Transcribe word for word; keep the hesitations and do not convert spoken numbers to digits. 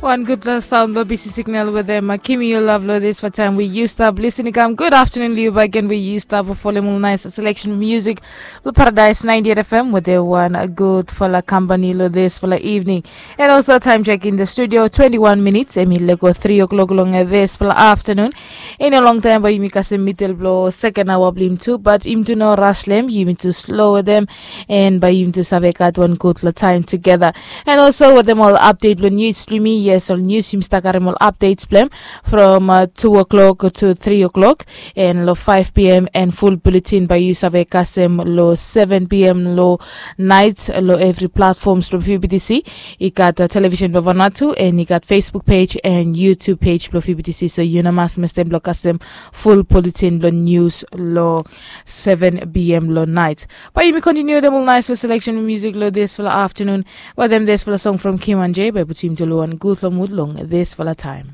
Wan gudfala saun blong bisi signal wetem Kimi yu lav long disfala taim we yu stap lisin i kam. Gud aftanun long yu bagen we yu stap folem ol nais seleksen musik blong Paradais ninety eight F M wetem wan gudfala kampani long disfala evening. And also time check in the studio, twenty-one minutes em i lego three o'clock long disfala aftanun. I no long taim bai yumi kasem midel blong seken aoa blong yumi tu, bat yumi tu no ras long em, yumi tu slo wetem, and bai yumi tu save gat wan gudfala taim tugeta. And also wetem ol update blong news blong yumi, yes, ol news yumi stap karim ol updates blong em from uh, two o'clock to three o'clock, and long five p.m. and full bulletin bai yu save kasem long seven p.m. long night long every platforms blong V B T C. I gat uh, television blong Vanuatu, and i gat Facebook page and YouTube page blong V B T C, so yu no mas mestem blong kasem full bulletin blong news long seven p.m. long night. Bai yumi kontiniu dem ol nais long seleksen musik long disfala aftanun. Wetem disfala song from Kim and J bai putum yumi tu long wan gudfala mud long disfala taim.